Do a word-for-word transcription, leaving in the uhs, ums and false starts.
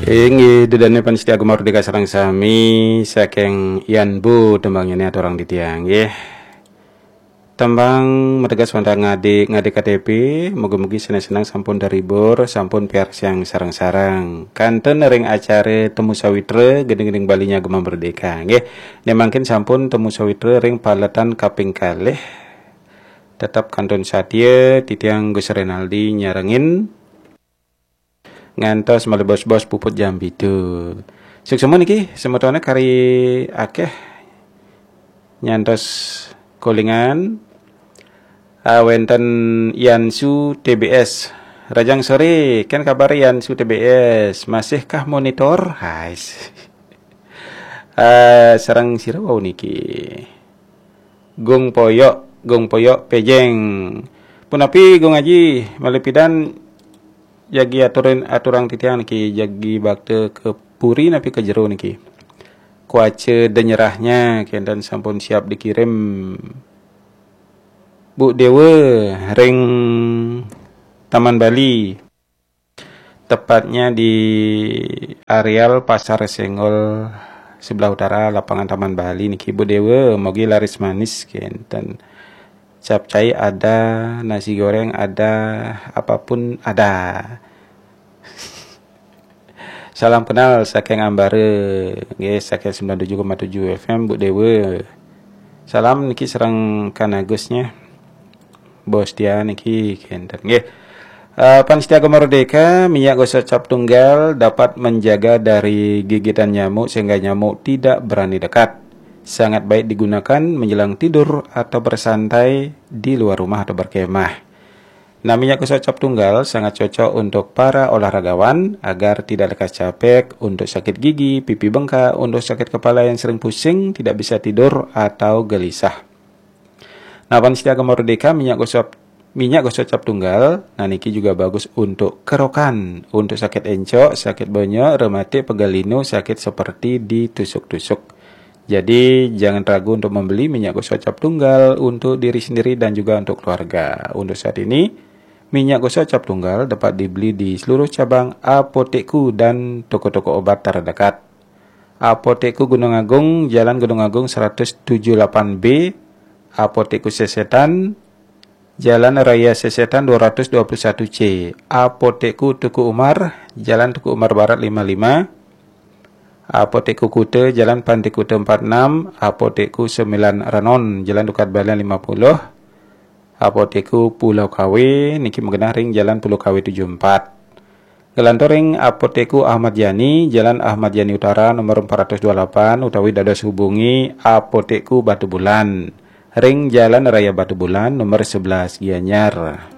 Inggih, dedane pamiarsa Gema Merdeka sareng sami, saking Yan Bu tembangnya ni aturang titiang, nggih. Tembang mateges wantah ngadi, ngadi K T P, mugi-mugi seneng-seneng sampun terhibur, sampun piarsiang sareng-sareng. Kanten ring acara Temu Sawitra, gending-gending Bali nya Gema Merdeka, nggih. Ne mangkin sampun Temu Sawitra ring paletan kaping kalih. Tetep kantun satia, titiang Gus Renaldi nyarengin. Ngantos malih bos-bos puput jam pitu. Suksma niki, semetone kari akeh nyantos kolingan. Ah, wenten Yansu T B S. Rajang sore, ken kabar Yansu T B S? Masihkah monitor? Hai. Ah, sareng sira wau niki. Gung Poyok, Gung Poyok Pejeng. Punapi Gung Aji, malih pidan jagi aturin, aturang titiang niki, jagi bakta ke puri napi ke jero niki? Kuaca denyerahnya kenten sampun siap dikirim. Bu Dewa ring Taman Bali. Tepatnya di areal Pasar Senggol sebelah utara lapangan Taman Bali niki, Bu Dewa, mugi laris manis kenten. Capcay ada, nasi goreng ada, apapun ada. Salam kenal saking Ambara, nggih, saking sembilan tujuh koma tujuh F M, Bu Dewa. Salam niki sareng Kan Agus nya. Bos Tia niki kenten, nggih. Eh, pamiarsa Gema Merdeka, minyak gosok cap tunggal dapat menjaga dari gigitan nyamuk sehingga nyamuk tidak berani dekat. Sangat baik digunakan menjelang tidur atau bersantai di luar rumah atau berkemah. Nah, minyak gosok cap tunggal sangat cocok untuk para olahragawan agar tidak lekas capek, untuk sakit gigi, pipi bengkak, untuk sakit kepala yang sering pusing, tidak bisa tidur, atau gelisah. Nah, pamiarsa Gema Merdeka, minyak gosok, minyak gosok cap tunggal, nah, niki juga bagus untuk kerokan, untuk sakit encok, sakit bonyok, rematik, pegal linu, sakit seperti ditusuk-tusuk. Jadi, jangan ragu untuk membeli minyak gosok cap tunggal untuk diri sendiri dan juga untuk keluarga. Untuk saat ini, minyak gosok cap tunggal dapat dibeli di seluruh cabang Apotekku dan toko-toko obat terdekat. Apotekku Gunung Agung, Jalan Gunung Agung seratus tujuh delapan B, Apotekku Sesetan, Jalan Raya Sesetan dua ratus dua puluh satu C, Apotekku Teuku Umar, Jalan Teuku Umar Barat lima lima, Apotekku Kuta, Jalan Pantai Kuta empat enam, Apotekku Sembilan Renon, Jalan Dukat Balian lima puluh, Apotekku Pulau Kawe, niki magenah ring Jalan Pulau Kawe tujuh empat. Nglantur ring Apotekku Ahmad Yani, Jalan Ahmad Yani Utara nomor empat ratus dua puluh delapan, utawi dados hubungi Apotekku Batubulan ring Jalan Raya Batubulan nomor sebelas Gianyar.